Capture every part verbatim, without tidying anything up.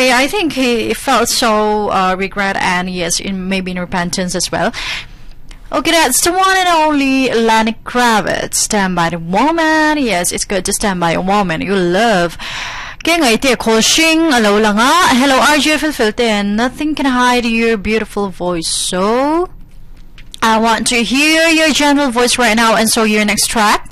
Anyway, I think he felt so uh, regret and yes, in maybe in repentance as well. Okay, that's the one and only Lenny Kravitz. Stand by the woman. Yes, it's good to stand by a woman you love. Ke ngai te khol alo langa. Hello R J Filfilte. Nothing can hide your beautiful voice. So I want to hear your gentle voice right now, and so your next track.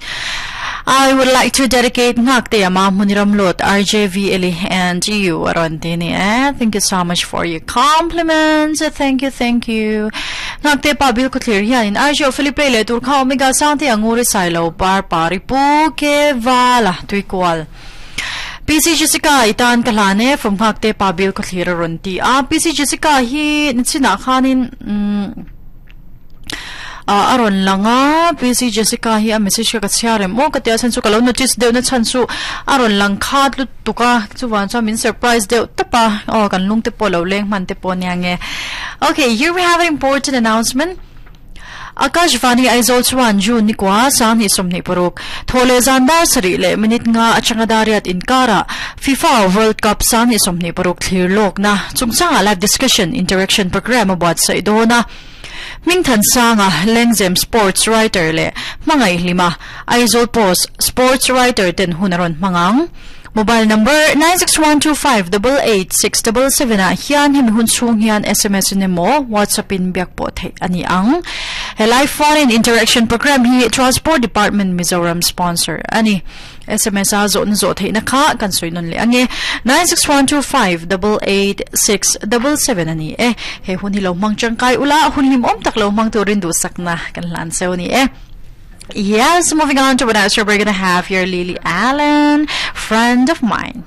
I would like to dedicate ngak te ama muniram lot R J V Eli and you aron tini eh. Thank you so much for your compliments. Thank you, thank you. Ngak te pa bil ko clear hian in R J Philip le tur kha omega sang te anguri sailo par pari pu ke wala tuikwal. P C Jessica itan kalane from ngak te pa bil ko clear aron ti. Ah P C Jessica hi nichina khanin mm Uh, aron langa P C Jessica hi a message ka chiarem o ka tia chan chu kalo notice deuh na chan chu aron lang khat lu tuka chuwan cha min surprise deuh tapa o kan lung te polo leng man te pon yange. Okay, here we have an important announcement. Akashvani Aizawl chuan June ni kwa sang ni somni paruk thole zandar sari le minute nga achanga dariat inkara FIFA World Cup sang ni somni paruk thlir lok na chungchanga live discussion interaction program about sai dona Mingthan Sanga Lengzem sports writer le mangai lima Aizawl Post sports writer ten hunaron mangang mobile number nine six one two five eight eight six seven seven a hian him hun chung hian S M S in mo WhatsApp in biak po the ani ang he live phone in interaction program hi Transport Department Mizoram sponsor ani S M S a zo na zo the na kha kan soinon le ange nine six one two five eight eight six seven seven ani e he hun hi lo mang changkai ula hun lim om tak lo mang turin du sakna kan lan seu ni e. Yes, moving on to what else we're gonna have here, Lily Allen, Friend of Mine.